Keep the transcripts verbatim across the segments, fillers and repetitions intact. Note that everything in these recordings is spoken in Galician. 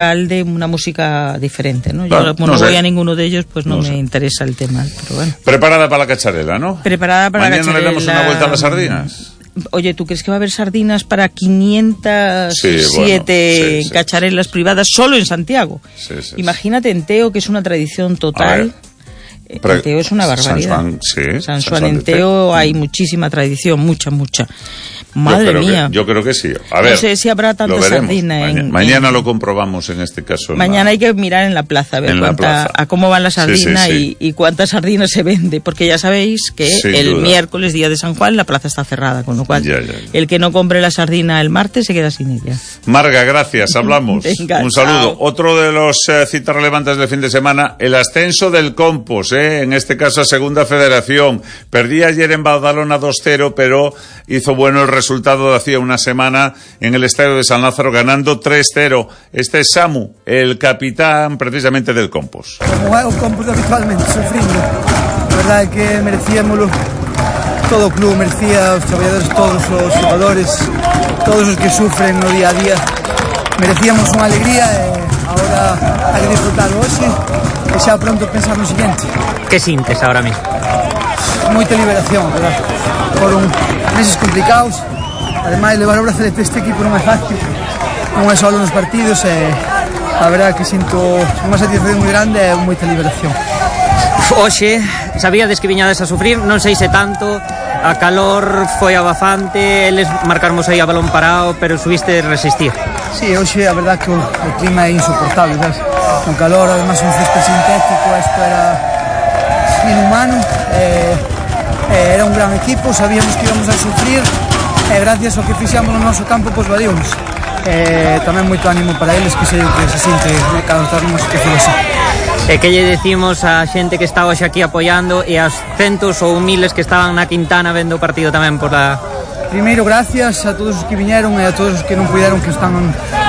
de una música diferente, ¿no? Yo bueno, como no, no voy a ninguno de ellos, pues no, no me sé. interesa el tema, pero bueno. Preparada para la cacharela, ¿no? Preparada para Mañana la cacharela. Mañana le damos una vuelta a las sardinas. Oye, ¿tú crees que va a haber sardinas para quinientas siete sí, bueno, sí, sí, cacharelas sí. privadas solo en Santiago? Sí, sí, Imagínate en Teo, que es una tradición total. En Teo es una barbaridad. San Juan, sí, San Juan en Teo hay muchísima tradición, mucha, mucha. Madre yo mía. Que, yo creo que sí. A ver, no sé si habrá tanta sardina. Mañana, en, mañana en... lo comprobamos en este caso. Mañana la... hay que mirar en la plaza a ver cuánta, plaza. a cómo van las sardinas sí, sí, sí. y, y cuántas sardinas se vende, porque ya sabéis que Sin el duda. miércoles, día de San Juan, la plaza está cerrada, con lo cual ya, ya, ya. el que no compre la sardina el martes se queda sin ella. Marga, gracias, hablamos. Venga, un saludo. Chao. Otro de los eh, citas relevantes del fin de semana, el ascenso del Compos, eh, en este caso a Segunda Federación. Perdí ayer en Badalona dos cero, pero hizo bueno el resultado de hacía una semana en el estadio de San Lázaro, ganando tres cero. Este es Samu, el capitán precisamente del Compos. Como é o Compos habitualmente, sufrindo. A verdade é que merecíamoslo. Todo o club merecía, os traballadores, todos os xogadores, todos os que sufren no día a día. Merecíamos unha alegría e agora hai que disfrutar hoxe e xa pronto pensar no siguiente. Que sintes ahora mismo? Moita liberación, verdad? Foron meses complicados. Ademais, levar o brazalete este equipo non é fácil, non é só nos partidos, e a verdade que sinto unha satisfacción moi grande e moita liberación. Oxe, sabíades que viñades a sufrir, non sei se tanto, a calor foi abafante, eles marcarmos aí a balón parado, pero subiste resistir. Sí, hoxe a verdade que o, o clima é insoportable, sabes? Con calor, además un césped sintético, isto era inhumano, e, e era un gran equipo, sabíamos que íbamos a sufrir, e gracias ao que fixamos no noso campo, pois valíamos. E tamén moito ánimo para eles, que sei o que se sinte cada estar nunha situación así. E que lle decimos a xente que está hoxe aquí apoiando e aos centos ou miles que estaban na Quintana vendo o partido tamén por la... Primeiro, gracias a todos os que viñeron e a todos os que non puderon, que están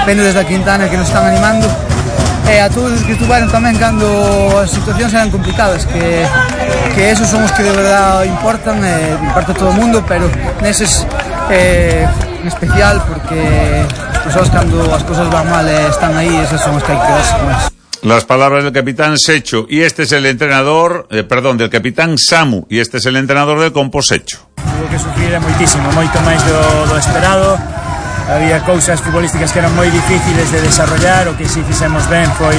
vendo desde a Quintana, que nos están animando, e a todos os que estuveron tamén cando as situacións eran complicadas, que, que esos son os que de verdade importan, e importa a todo o mundo, pero neses eh, en especial, porque as persoas cando as cosas van mal e están aí, esas son as que hai que quedarse con eso. Las palabras del capitán Secho, y este es el entrenador, eh, perdón, del capitán Samu, y este es el entrenador del Compos Secho. Tuvo que sufrir moitísimo, moito máis do, do esperado. Había cousas futbolísticas que eran moi difíciles de desarrollar. O que si fixemos ben foi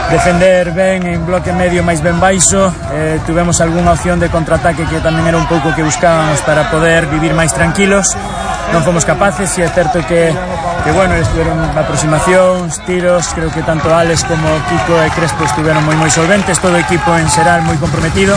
defender ben en bloque medio máis ben baixo. Eh, tuvemos algunha opción de contraataque que tamén era un pouco que buscábamos para poder vivir máis tranquilos. Non fomos capaces, e é certo que, que bueno, estuvieron aproximacións, tiros, creo que tanto Alex como Kiko e Crespo estuvieron moi moi solventes, todo o equipo en xeral moi comprometido.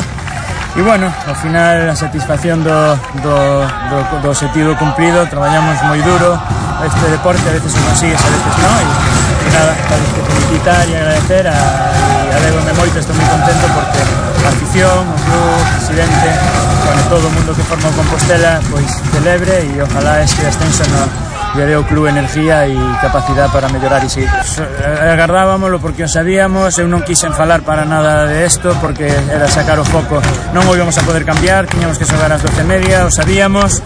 E bueno, ao final a satisfacción do, do, do, do objetivo cumprido. Traballamos moi duro este deporte, a veces o consigues, a veces non, e, e nada, tal vez que felicitar e agradecer a, e alegro-me moito, estou moi contento porque a afición, o club, o presidente, bueno, todo o mundo que forma o Compostela pois celebre, e ojalá este ascenso no lle deu o club energía e capacidade para mellorar e seguir. Agardábamoslo porque o sabíamos, eu non quixen falar para nada de isto porque era sacar o foco, non o íbamos a poder cambiar, tiñamos que xogar ás doce e media, o sabíamos,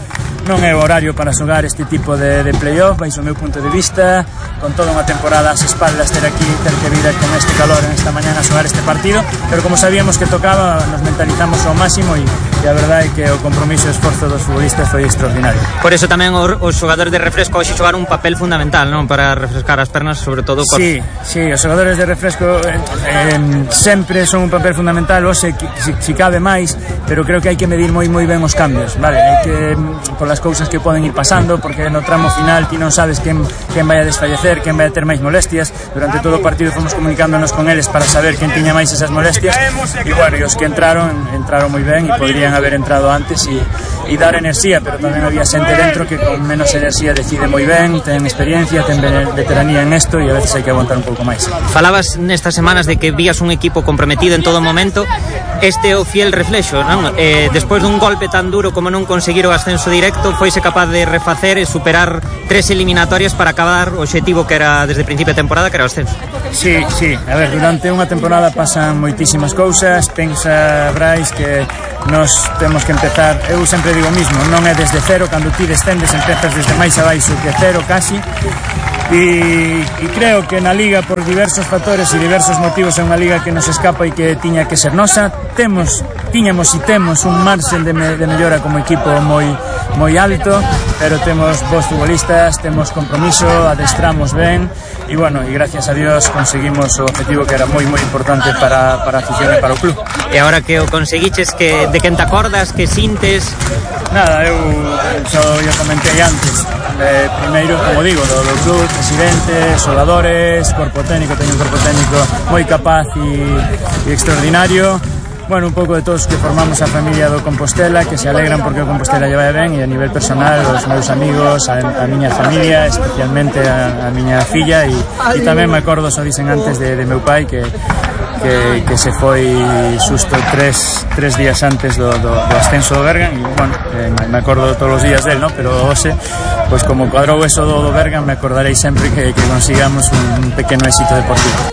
non é o horario para xogar este tipo de, de playoff, baixo o meu punto de vista, con toda unha temporada ás espaldas, ter aquí, ter que vir con este calor en esta mañana a xogar este partido, pero como sabíamos que tocaba, nos mentalizamos ao máximo, e, e a verdade é que o compromiso e o esforzo dos futbolistas foi extraordinario. Por eso tamén os xogadores de refresco hoxe xogaron un papel fundamental, non? Para refrescar as pernas, sobre todo con... Sí, sí, os xogadores de refresco eh, eh, sempre son un papel fundamental, hoxe si, si cabe máis, pero creo que hai que medir moi moi ben os cambios, vale? Hai que, por las cousas que poden ir pasando, porque no tramo final ti non sabes quen, quen vai a desfallecer, quen vai a ter máis molestias. Durante todo o partido fomos comunicándonos con eles para saber quen tiña máis esas molestias, e bueno, e os que entraron, entraron moi ben e podrían haber entrado antes e, e dar enerxía, pero tamén había xente dentro que con menos enerxía decide moi ben, ten experiencia, ten veteranía en esto, e a veces hai que aguantar un pouco máis. Falabas nestas semanas de que vías un equipo comprometido en todo momento. Este é o fiel reflexo, non? Eh, despois dun golpe tan duro como non conseguir o ascenso directo, foise capaz de refacer e superar tres eliminatorias para acabar o obxectivo que era desde o principio de temporada, que era o ascenso. Sí, sí, a ver, durante unha temporada pasan moitísimas cousas. Pensa, Brais, que nos temos que empezar, eu sempre digo o mismo, non é desde cero, cando ti descendes empezas desde máis abaixo que cero casi, e, e creo que na Liga, por diversos factores e diversos motivos, é unha Liga que nos escapa e que tiña que ser nosa. Temos, tiñamos e temos un marxen de, me, de mellora como equipo moi moi alto, pero temos bons futbolistas, temos compromiso, adestramos ben e, bueno, e gracias a Dios conseguimos o objetivo que era moi moi importante para, para a afición e para o club. E agora que o conseguiches, que, de quen te acordas, que sintes? Nada, eu xa o comentei antes. Eh, primeiro, como digo, do, do club, presidente, xogadores, corpo técnico, teño un corpo técnico moi capaz e, e extraordinario. Bueno, un pouco de todos que formamos a familia do Compostela, que se alegran porque o Compostela lle vai ben, e a nivel personal, os meus amigos, a, a miña familia, especialmente a, a miña filla, e, e tamén me acordo, xa dicen antes, de, de meu pai, que Que, que se foi xusto tres, tres días antes do, do, do ascenso do Bergan, e, bueno, eh, me acordo todos os días del, ¿no? Pero hoxe, pois como cuadrou eso do, do Bergan, me acordarei sempre que, que consigamos un pequeno éxito deportivo.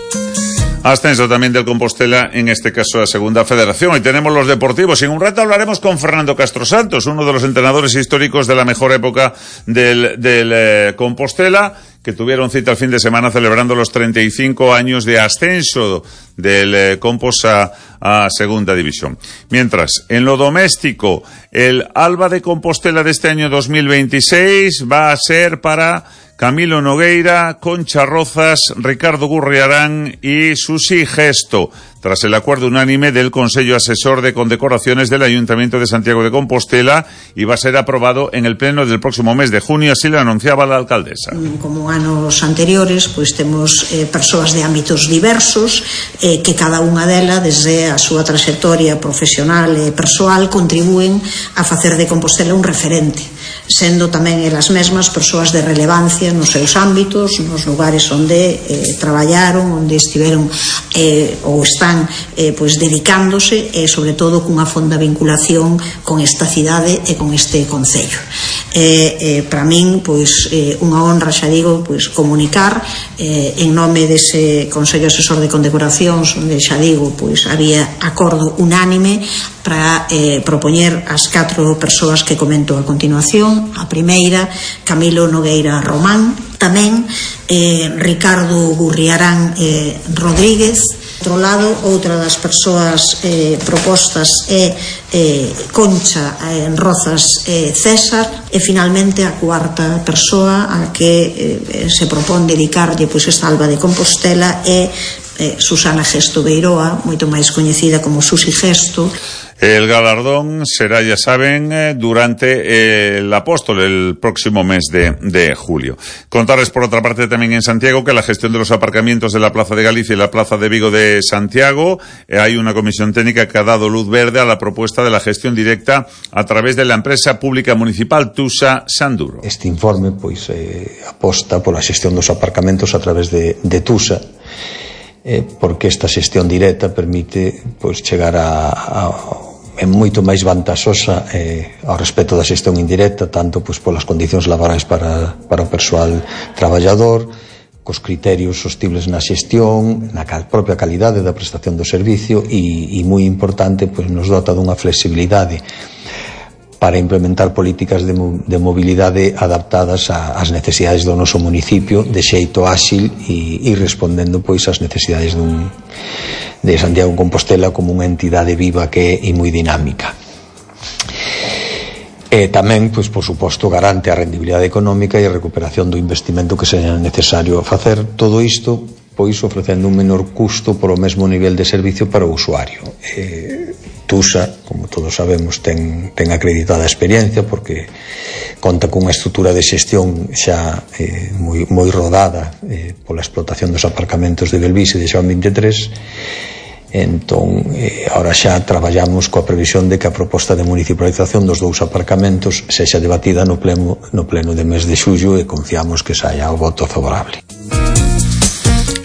Ascenso también del Compostela, en este caso a Segunda Federación. Y tenemos los deportivos. En un rato hablaremos con Fernando Castro Santos, uno de los entrenadores históricos de la mejor época del, del eh, Compostela, que tuvieron cita el fin de semana celebrando los treinta y cinco años de ascenso del eh, Compos a, a Segunda División. Mientras, en lo doméstico, el Alba de Compostela de este año dos mil veintiséis va a ser para Camilo Nogueira, Concha Rozas, Ricardo Gurriarán y Susi Gesto, tras el acuerdo unánime del Consejo Asesor de Condecoraciones del Ayuntamiento de Santiago de Compostela, y va a ser aprobado en el pleno del próximo mes de junio, así lo anunciaba la alcaldesa. Como anos anteriores, pois temos eh, persoas de ámbitos diversos, eh, que cada unha delas, desde a súa trayectoria profesional e persoal, contribúen a facer de Compostela un referente, sendo tamén elas mesmas persoas de relevancia nos seus ámbitos, nos lugares onde eh, traballaron, onde estiveron eh, ou están eh, pois dedicándose, e sobre todo cunha fonda vinculación con esta cidade e con este concello. Eh, eh, para min, pois eh, unha honra, xa digo, pois comunicar eh, en nome dese Consello Asesor de Condecoracións, onde xa digo, pois había acordo unánime para eh, propoñer as catro persoas que comento a continuación. A primeira, Camilo Nogueira Román, tamén eh, Ricardo Gurriarán eh, Rodríguez. Por outro lado, outra das persoas eh, propostas é eh, Concha eh, Rozas eh, César, e finalmente a cuarta persoa a que eh, se propón dedicarlle pois esta Alba de Compostela é eh, Susana Gesto Beiroa, moito máis coñecida como Susi Gesto. El galardón será, ya saben, durante eh, el Apóstol, el próximo mes de, de julio. Contarles, por otra parte, también en Santiago, que la gestión de los aparcamientos de la Plaza de Galicia y la Plaza de Vigo de Santiago, eh, hay una comisión técnica que ha dado luz verde a la propuesta de la gestión directa a través de la empresa pública municipal Tusa Sanduro. Este informe, pois, eh, aposta pola xestión dos aparcamentos a través de, de Tusa, eh, porque esta xestión directa permite, pois, chegar a, a é moito máis vantaxosa eh, ao respecto da xestión indirecta, tanto pois polas condicións laborais para, para o persoal traballador, cos criterios sostibles na xestión, na cal, propia calidade da prestación do servicio, e, e moi importante, pois nos dota dunha flexibilidade para implementar políticas de, de mobilidade adaptadas ás necesidades do noso municipio de xeito áxil e, e respondendo pois ás necesidades dun, de Santiago de Compostela como unha entidade viva que é e moi dinámica. E tamén, pois, por suposto, garante a rendibilidade económica e a recuperación do investimento que seña necesario facer. Todo isto, pois, ofrecendo un menor custo polo mesmo nivel de servicio para o usuario. E, Tusa, como todos sabemos, ten, ten acreditada experiencia porque conta cunha estrutura de xestión xa eh, moi, moi rodada eh, pola explotación dos aparcamentos de Belvís e de Xoán veintitrés. Entón, eh, ahora xa traballamos coa previsión de que a proposta de municipalización dos dous aparcamentos sexa debatida no pleno, no pleno de mes de xullo, e confiamos que saia o voto favorable.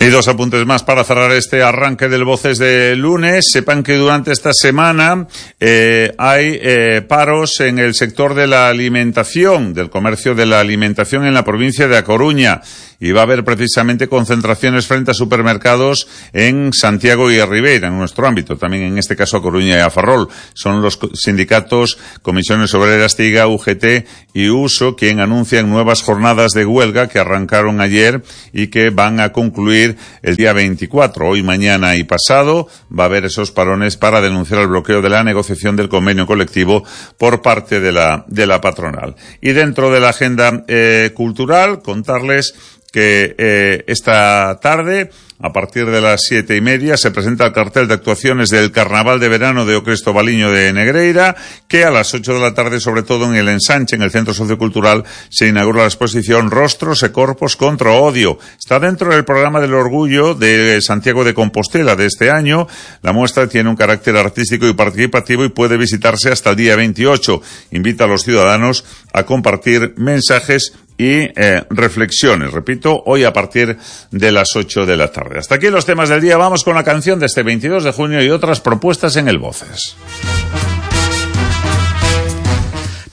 Y dos apuntes más para cerrar este arranque del Voces de lunes. Sepan que durante esta semana eh, hay eh, paros en el sector de la alimentación, del comercio de la alimentación en la provincia de A Coruña. y va a haber precisamente concentraciones frente a supermercados en Santiago y a Ribeira, en nuestro ámbito, también en este caso a Coruña y a Ferrol. Son los sindicatos Comisiones Obreras, TIGA, U G T y U S O quien anuncian nuevas jornadas de huelga que arrancaron ayer y que van a concluir el día veinticuatro. Hoy, mañana y pasado va a haber esos parones para denunciar el bloqueo de la negociación del convenio colectivo por parte de la, de la patronal. Y dentro de la agenda eh, cultural, contarles que eh, esta tarde, a partir de las siete y media, se presenta el cartel de actuaciones del Carnaval de Verano de O Cristo Baliño de Negreira, que a las ocho de la tarde, sobre todo en el Ensanche, en el Centro Sociocultural, se inaugura la exposición Rostros e Corpos contra o Odio. Está dentro del programa del Orgullo de Santiago de Compostela de este año. La muestra tiene un carácter artístico y participativo y puede visitarse hasta el día veintiocho. Invita a los ciudadanos a compartir mensajes y eh, reflexiones, repito, hoy a partir de las ocho de la tarde. Hasta aquí los temas del día. Vamos con la canción de este veintidós de junio y otras propuestas en el Voces.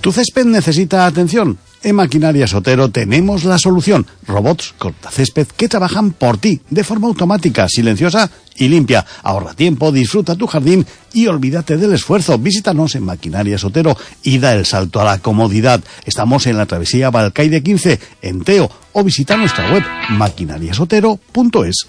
¿Tu césped necesita atención? En Maquinarias Otero tenemos la solución. Robots cortacésped que trabajan por ti, de forma automática, silenciosa y limpia. Ahorra tiempo, disfruta tu jardín y olvídate del esfuerzo. Visítanos en Maquinarias Otero y da el salto a la comodidad. Estamos en la travesía Balcaide quince, en Teo, o visita nuestra web maquinarias otero punto es.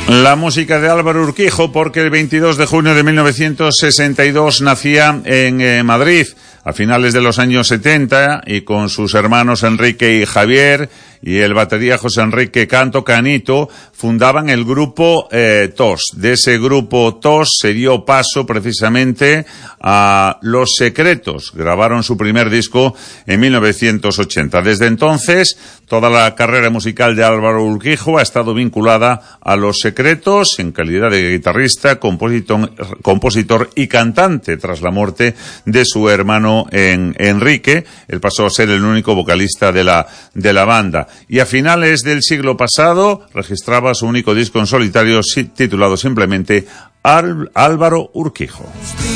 La música de Álvaro Urquijo, porque el veintidós de junio de mil novecientos sesenta y dos nacía en eh, Madrid, a finales de los años setenta, y con sus hermanos Enrique y Javier y el batería José Enrique Canto Canito fundaban el grupo eh, T O S. De ese grupo T O S se dio paso precisamente a Los Secretos. Grabaron su primer disco en mil novecientos ochenta. Desde entonces, toda la carrera musical de Álvaro Urquijo ha estado vinculada a Los Secretos en calidad de guitarrista, compositor, compositor y cantante tras la muerte de su hermano en, Enrique. Él pasó a ser el único vocalista de la, de la banda. Y a finales del siglo pasado registraba su único disco en solitario titulado simplemente Álvaro Urquijo.